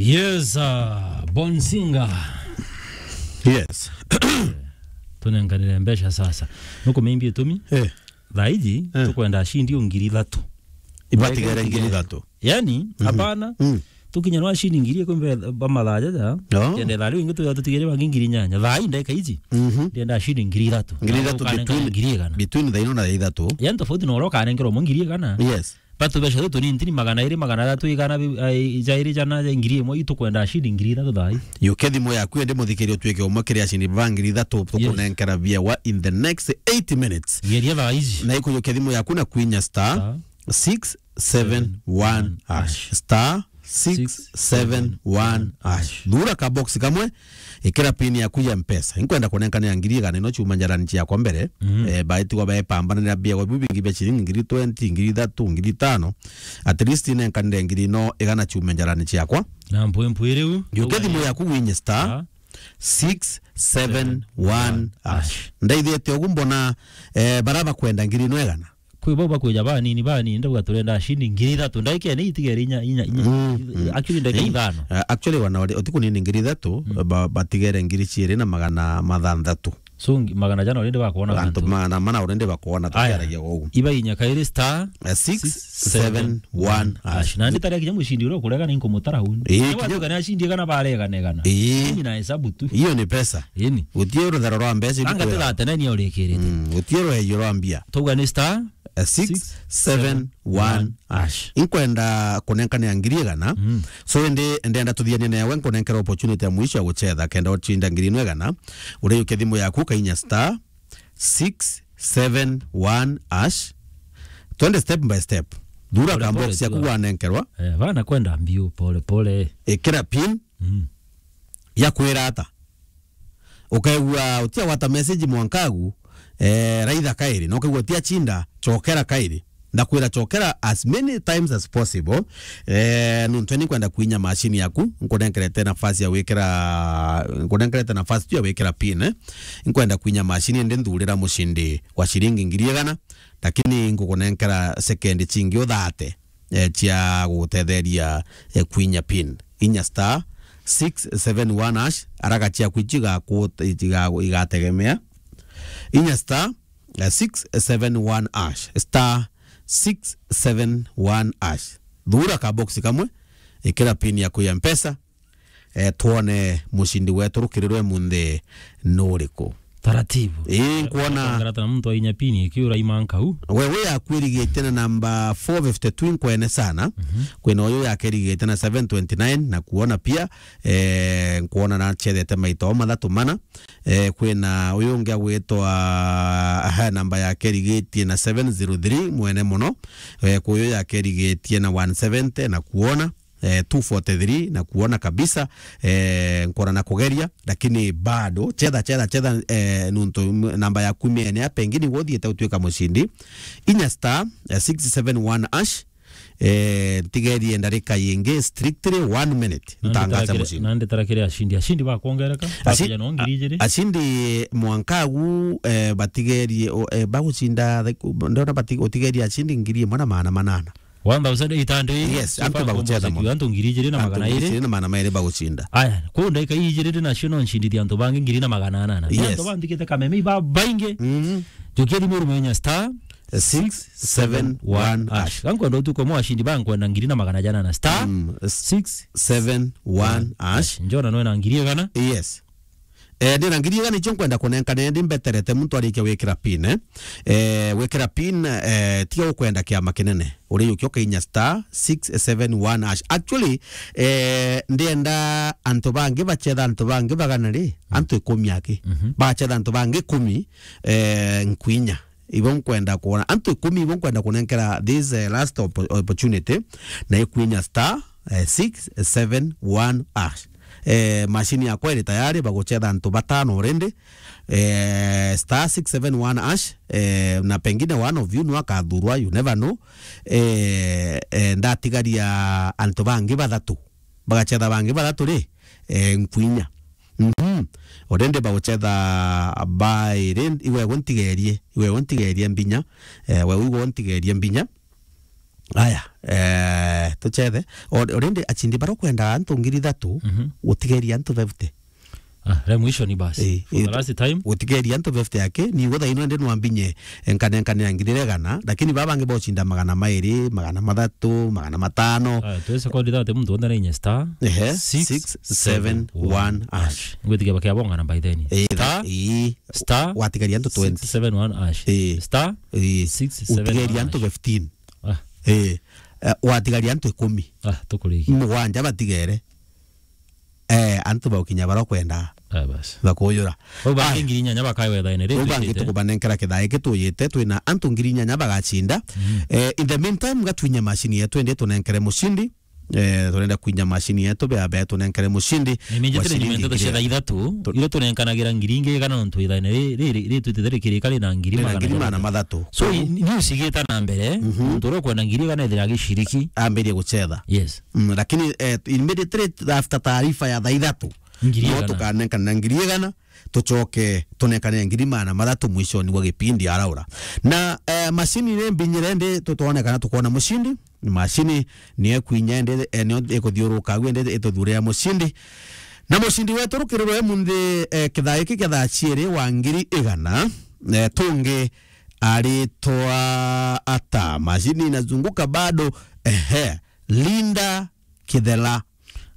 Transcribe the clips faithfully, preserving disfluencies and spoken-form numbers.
Yes, uh, Bonsinga. Yes. Tunenganire mbeca sasa. Nukumimbia itumi? Eh. Thaa iji, eh, tukwenda ashindi o ngiri ithatu. Ibatigere ngiri ithatu. Yani, mhm, hapana. Mm. Tukinya no ashindi ngiri ikumi ba mathaa jaja. No. Kenda thaa riu ingi tuya tutigere bangi ngiri nyanya. Thaa ii ndeka iji. Mhm. Ndienda ashindi ngiri ithatu. Ngiri ithatu. Ukanenga between, ngiri igana. Between thaa ino na thaa ithatu. Yani tofauti na uria ukanengerwa umwe ngiri igana. Yes. Batu beca tu tunini ntini magana iri, magana athatu, igana bi-, ai, jairi, jana, ja ngiri imwe, itukwenda ashindi ngiri ithatu thaa ii. Yukia thimu yaku indi muthikiria utuike umwe kiri ashindi ba ngiri ithatu, yes, tukunenkera biawa in the next eight minutes. Geria thaa iji. Na ikujukia thimu yaku na kwinya star, star six seven one hash. Star six seven one hash. Thura ka box kamwe, ikira pin yaku ya Mpesa. Inkwenda kunenkanira ngiri igana ino ciuma njarani ciakwa mbere. Mhm. Eh, baitigwa baepambananira biawa biu bingi bia ciringi ngiri twenty, ngiri ithatu, ngiri itano. At least inenkanire ngiri ino igana ciuma njarani ciakwa. Na mpwempwe riu. Yukia thimu yaku winye star, ah, six seven one hash. Ndaithite ugu mbona, eh, bara bakwenda ngiri ino igana. Kwi bau bakwija banini, banini, ndauga turenda ashindi ngiri ithatu. Ndaika ni itigere inya, inya, inya. Mm, mm. Actually, ndaika ithano. Eh, actually, wana wari, uti kunini ngiri ithatu, mm, ba-, batigere ngiri ciiri na magana mathanthatu. So, ngi-, magana jana already bakwona. Antu gantu. Magana mana already bakwona, aya, tukiaragia ugu. Iba inya kairi star, eh, six seven one hash. Na nditaria kinya mushindi uria ukurega ni nkumutara uni. Eh, kinya watuka ni ashindi igana baregana igana. Eh. Ni na hesabu tu. Hiyo ni pesa. Ini. Gutie rutharo rwa mbeca. Anga ibukwira. Tigatene ni urikirite. Mm, gutie ruheyo rwa mbia. Tuga ni star, eh, six seven one hash. Inkwenda kunenkanira ngiri igana. Mm. So, indi ndenda tuthianie nawe, nkunenkera opportunity ya mwisho ya guchetha, kenda ucinda ngiri ino igana. Uriukia thimu yaku, kainya star six seven one hash. Twende step by step. Thura ka box yaku wanenkerwa. Eh, bana kwenda mbiu, pole pole. Ikira pin. Mm. Ya kwira ata? Ukaigua utia gwata message mwankagu, eh, raitha kairi, na ukaigua utia chinda, chokera kairi. Ndakwira chokera as many times as possible. Eh, nuntu ni kwenda kwinya machine yaku, nkunenkerete nafasi ya wikira, nkunenkerete nafasi tu ya wikira pin, eh. Nkwenda kwinya machine, ndi nthurira mushindi wa shiringi ngiri igana, lakini ngukunenkera second chingi uthate, eh, cia gugutetheria, eh, kwinya pin. Inya star six seven one hash, araga ciaku ici igaku-, igagu-, igategemea. Inya star, eh, six seven one hash, star six seven one hash. Thura ka box kamwe, ikira pin yaku ya Mpesa, eh, twone mushindi wetu rukirirwe munthi nuriku. Taratibu. Ii, nkwona. Ngarata na muntu ainya pini, ikiura imanka u. Wewe yaku irigite na namba four fifty-two, nkwene sana. Mhm. Kwina uyu yake irigite na seven twenty-nine, na kuona pia, eh, nkwona na chethete maito mathatu mana. Eh, kwina uyu ungi agwitwa, aha, namba yake irigitie na seven zero three, mwene muno. Eh, kwi uyu yake irigitie na one seventy, na kuona eh, two forty-three, na kuona kabisa, eh, nkona na kugeria, lakini bado, chetha, chetha, chetha, eh, nuntu m-, namba yaku imiene ya pengine guthiite utuika mushindi. Inya star, eh, six seven one hash, eh, ntigerie ndarika yingi, strictly one minute, ntangaza mushindi. Nandi tarakire ashindi, ashindi bakwongereka, ashi-, bakuja no ngiri ijiri. Ashindi mwanka agu, eh, batigerie, o, eh, bagucinda, like, ndona bati-, utigerie ashindi ngiri imwe na magana manana. One thousand eight hundred. Yes, so antu far baguchetha composite mono. Antu ngiri ijiri na magana iri. Antu ngiri ijiri na magana mairi bagucinda. Aya, kuu ndaika ijiri nacio no ncindithia antu bangi ngiri na magana anana. Yes. Antu banthikite kameme iba baingi. Mhm. Njukia thimu urumenya star six seven one hash. Gankwenda utuko mwa ashindi bankwenda ngiri na magana jana na star, mm, six seven one hash. Njona no ena ngiri igana. Yes. Eh, ndina ngiri igana icio nkwenda kunenkana, ndi mbeterete muntu arikia wikira pin, eh. Eh, wikira pin, eh, tiga ukwenda kiama kinene. Uri ukio kainya star six seven one hash. Actually, eh, ndienda antu bangi bachetha antu bangi bagana ri, mm, antu ikumi aki. Mhm. Bachetha antu bangi ikumi, eh, nkwinya. Ibo nkwenda kuona. Antu ikumi ibo nkwenda kunenkera this, eh, last oppo-, opportunity. Na ikwinya star, eh, six seven one hash. Eh, machine yakwa iri tayari, baguchetha antu batano already. Eh, star six seven one hash, eh, na pengine one of you no akathurwa, you never know. Eh, eh, ndatigaria antu bangi bathatu. Bagachetha bangi bathatu ri, eh, nkwinya. Mhm. Already baguchetha bairi, iwe gu ntigerie, iwe gu ntigerie mbinya, eh, we iwe gu ntigerie mbinya. Aya, eh, tuchethe. Al-, already achindi baria ukwenda antu ngiri ithatu, Mhm. gutigeria antu fifty. Ah, re mwisho ni basi. Eh, For the eh, last time. Gutigeria antu fifty aki, ni gutha ino ndi nwambinye, enkane, enkane ya ngiri igana, lakini baba bangi bochinda magana mairi, magana mathatu, magana matano. Ah, twese kwa ndithate muntu wonde na inye star Ehe, six seven one six seven one hash. Ngwitikia bakia bongana by then. Eh, Star, eh, star watigaria antu twenty. Six seven one hash. Eh. Star Eh, six seven one utigeria antu hash. fifteen. Ah. Eh, eh, watigaria antu ikumi. Ah, tukurigia. Mugwanja batigere. Eh, antu baukinya baria ukwenda. Ah, basi. Bakuyura. Bau bangi Aya. Ngiri inyanya bakawe thaine ri Bau bangi twitite. Tukubanenkera kithaa giki tuyite, twina antu ngiri inyanya bagachinda. Mm. Eh, in the meantime, gatwinye macini yetu indi tunenkere mucindi. Eh, turenda kwinya macini yetu, bea, bea tunenkere mucindi. Niminjitire wa nyuma ciringi nteto cia ngiri thaa ithatu, Tu- iria tunenkanagira ngiri ingi igana nontu ithaine ri, ri, ri, ri twitite rikirika rina ngiri Rina magana ngiri magana mathatu. So, i-, ni ucigita na mbere, Mhm. muntu uria ukwenda ngiri igana ethira agiciriki. Ambirie gucetha. Yes. Mm, lakini, eh, immediately after taarifa ya thaa ithatu, Ngiri no igana. Tukanenkana ngiri igana, tucoke tunenkane ngiri magana mathatu mwishoni wa gipindi araura. Na, eh, macini ni mbinyire ndi tutwone kana tukwona mucindi. Macini ni ekwinya ndi, eh, nio ikuthiuruka agu ndi ituthuurira mucindi. Na mucindi wetu rukiriro e munthi, eh, kithaa giki kia thaa ciiri wa ngiri igana, eh, tungi aritwa ata? Macini inazunguka bado, ehe, Linda Kithela.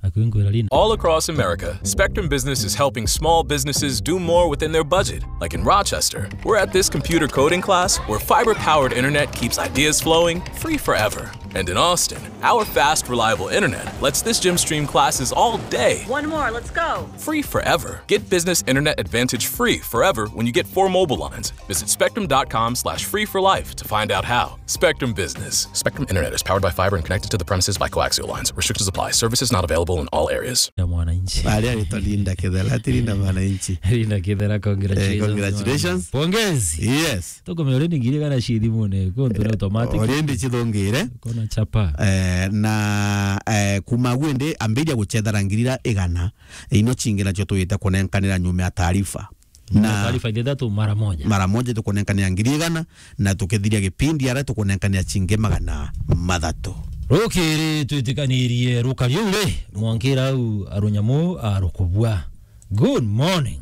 Akwingwira Linda. All across America, Spectrum Business is helping small businesses do more within their budget. Like in Rochester, we're at this computer coding class where fiber powered internet keeps ideas flowing free forever. And in Austin, our fast, reliable internet lets this gym stream classes all day. One more, let's go. Free forever. Get business internet advantage free forever when you get four mobile lines. Visit spectrum dot com slash free for life to find out how. Spectrum Business. Spectrum Internet is powered by fiber and connected to the premises by coaxial lines. Restrictions apply. Services not available in all areas. Ya mwananchi. Aria aritwa Linda Kithela, ati Linda mwananchi. Linda Kithela, congratulations. Eh, congratulations. Pongezi. Yes. Tukumenya already ngiri igana ci thimune, kuntu ni automatic. Already cithungire. Kona chapa. Eh, na, eh, kuma agu ndi ambiria gucethera ngiri ira igana, ino cingi nacio twite kunenkanira nyuma ya taarifa. Na taarifa ithatu mara moja. Mara moja tukunenkanira ngiri igana, na tukithiria gipindi ara tukunenkanira cingi magana mathatu. Rukiri twitikanirie rukari uu ri, mwankira au arunyamu arukubua. Good morning.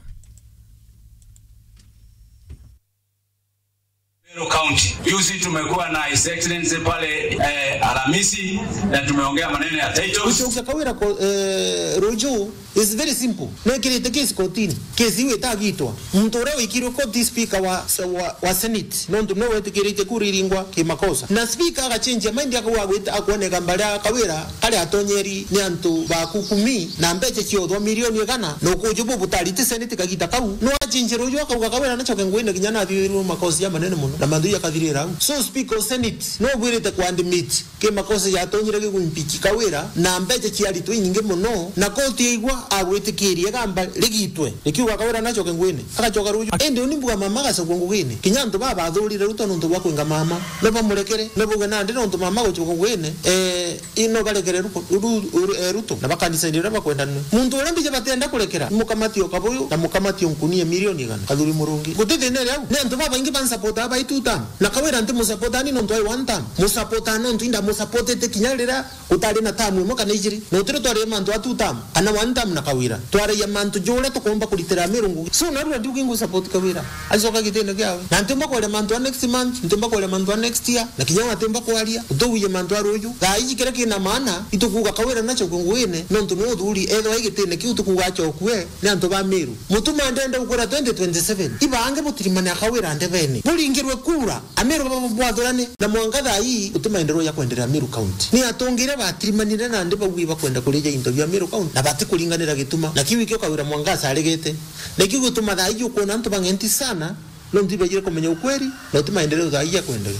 Meru County. Juzi tumekuwa na His Excellency pale, eh, Alhamisi, na tumeongea maneno ya titles. Gucokia Kawira ko-, eh, ruju is very simple. Nekirite case kotini. Case iu itagitwa. Muntu uria wikirwe koti speaker wa, wa, wa Senate. Nontu no wetikirite kura iringwa kimakosa. Na speaker agachenjia mind akauga gwita akwoneka mbaria Kawira kari atonyeri ni antu ba kukumi na mbecha ciothwa milioni igana na ukuju bu butari ti Senate kagita kau. No achenjia ruju akauga Kawira nacoke ngwine kinya nathiurirwe makosa jamanene muno na mantu jakathirira au. So speaker of Senate no bwirite ku admit ki makosa jatonyire gigwimpeach Kawira na mbecha ciaritwe inyingi muno, na koti yaigua agwitikiria igamba rigitwe rikiuga Kawira nacoke ngwine, agacoka ruju. Indi uni mbuga mama agacokwa ngugine. Kinya antu baba bathurire Ruto nontu bwa kwinga mama, no bamurekere, no bauge nandi nontu mama gucoka ngugine, eh, ino barekere Ruko-, Ru-, Ru-, eh, Ruto, na bakanisa iria bakwenda nwe. Muntu uria mbija batenda kurekera, mukamati o Kabuyu na mukamati o Nkunia milioni igana, Kathuri Murungi. Guti thina iri au. Ni antu babaingi bansupportaa bai two term. Na Kawira ntimusupportaa ni nontu ai one term. Musupportaa nontu indamusupportete kinya riria gutari na term imwe kana ijiri. Na utiri twari mantu a two term, kana one term na Kawira. Twaragia mantu juria tukomba kuritira Amiru ngugi. So, narua ndiugi ngusupport Kawira. Acoka gitine kiawe. Na ntimba kwaria mantu a next month, ntimba kwaria mantu a next year, na kinya we atimba kwaria, utuguie mantu a ruju. Thaa iji kiria kina maana, itukuuga Kawira nacoke nguine, nontu ni uthuri, ethwa i gitine kiu tukuuga acokue, ni antu ba Miru. Mutuma ndenda gukwira twenty twenty-seven. Ibange butirimane a Kawira ndebene. Buringirwe kura, Amiru baba bwathurane, na mwanka thaa ii guti maendeleo ja kwenderea Miru County. Ni atongire batirimanire nandi baugi bakwenda kurija into bia Miru County, na batikuringanira gituma. Na kiu ikio Kawira mwanka acaregete. Na kiu gituma thaa iji ukwona antu bang'enti sana, nontu ibaijire kumenya ukweli, na uti maendeleo thaa iji ya kwenderea.